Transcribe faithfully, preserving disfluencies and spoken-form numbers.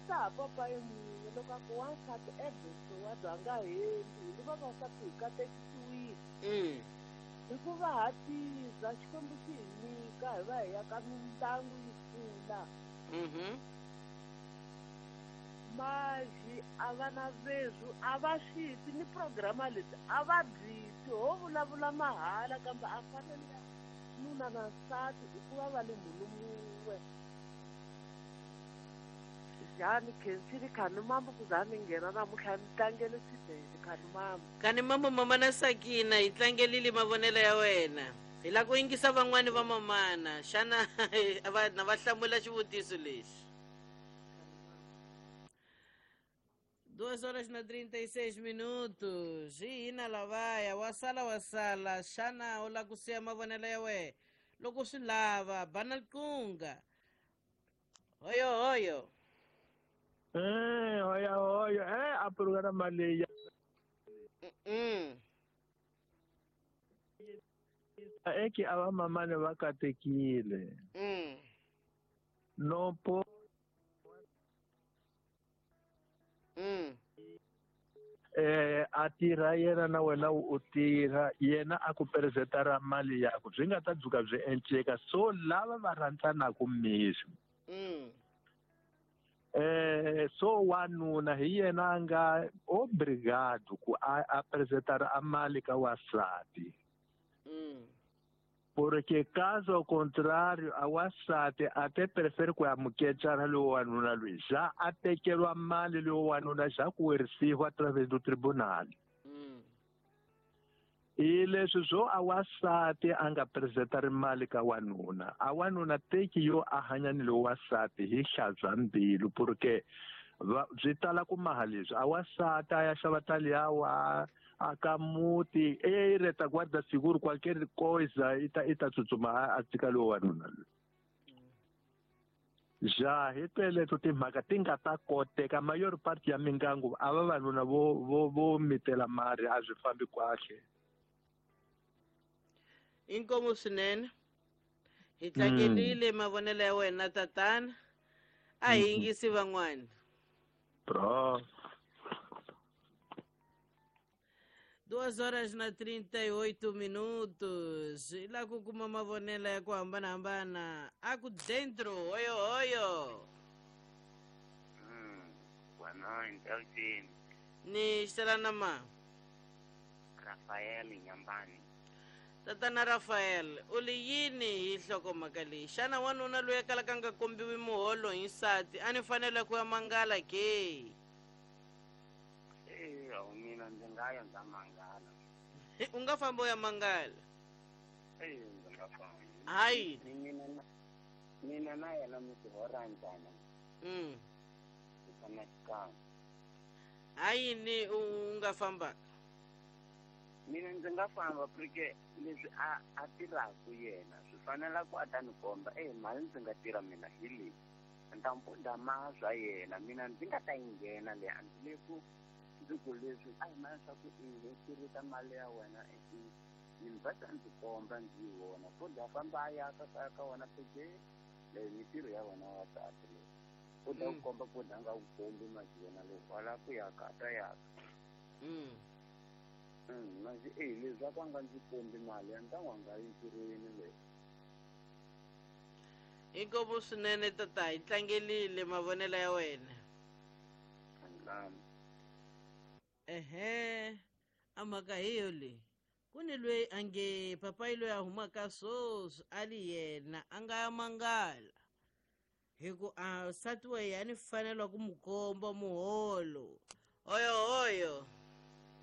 vutisa ha papayi munhu loko a ku wansati ebese wa bya nga hembi hi vavasati hi katekisiwile. Mm. Hikuva ha tiza Xikwembu xi hi nyika hi va hi ya ka mindyangu yi kula. Mhm. Maji a va na veswi a va swi twi ni programa leti a va byi twi ho vulavula mahala kambe a fanele nuna na nsati i ku va va le munhu mun'we. Njhani khensile khani mambo ku za ni nghena namuntlha ni tlangele swinene khani mambo. Khani mambo mama na Sakina hi tlangelile mavonelo ya wena. Hi lava ku yingisa van'wani va mamana xana va na va hlamula xivutiso lexi. Duas horas na trinta e seis minutos. Hina lavaya wa sala wa sala xana u lava ku siya mavonelo ya wena loko swi lava bana liqunga. Hoyo hoyo. Eh, hoya hoyo eh a programa leyi. Mm. Eke a va mamane va katekile. Mm. No po. Mm. Eh a tirha yena na wena u tirha yena a ku presentara mali yakwe byi nga ta dzuka byi enceka so lava va rhandzanaka mixo. Mm. Eh so wanuna hi yena a nga obrigado ku a, a presentara a mali ka wasati. Mm. Porque caso ao contrário, a wasati até prefere ku amuketshana lowo wanuna loyi já a tekeriwa mali lowo wanuna já ku werisiwa através do tribunal. Mm. E leswi swo a wasati a nga presentari mali ka wanuna a wanuna teki yo a hanya ni lowo wasati hi hlantswa mbilu porque byi tala ku maha leswi a wasati a ya xava taliyawa aka muti e retaguarda seguro qualquer coisa ita ita tsutsuma a tshika lowo wanuna loyi. Ja hi teleto timhaka ti nga ta koteka mayor part ya mingangu a vavanuna vo vo vo mitela mari a swi fambi kahle. Inkomu swinene hi tlangelile mavonelo ya wena tatana a hi yingisi van'wana. Bro. Duas horas na trinta e oito minutos. E lá com uma mavonela ku hambana hambana. Aku dentro, oyo oyo. Mm, boa noite, Elton. Ni xelana ma. Rafael Nyambani. Tatana Rafael, u li yini hi nhlokomhaka leyi? Xana wanuna loyi a kalaka a nga kombiwi muholo hi nsati a ni fanele ku ya mangala ke? Eh, mina ndzi nga ya ndza mangala. U nga famba u ya mangala? Eh, ndzi nga famba. Hayi. Mina na mina na yena mi ti hora njhani? Mm. Hi tshama xikan'we. Hayi ni u nga famba? Mina ndzi nga famba porque leswi a a tirhaka yena swi fanela ku a ta ni komba eh mali ndzi nga tirha mina hi leyi ni ta mpunda ma swa yena mina ndzi nga ta yi nghena leyi a ndzi le ku ndzi ku leswi a hi mali swa ku i tirhisa mali ya wena i va ta ndzi komba ndzi yi vona futhi a famba a yaka kaya ka wena peke leyi mintirho ya wena wa tati leyi u ta ku komba futhi a nga ku kombi mali yena lowu wa lava ku yaka a ta yaka. Mm. Mm, manje eh leswi a ku nga ndzi kombi mali ya ntangu a nga yi ntirhweni leyi. Inkomu swinene tata hi tlangelile mavonelo ya wena. Angilami. Ehe, a mhaka hi yo leyi. Ku ni loyi a nge papayi loyi a humaka swoswi a li yena a nga ya mangala hi ku a nsati wa yena a ni fanela ku mu komba muholo. Oyo oyo.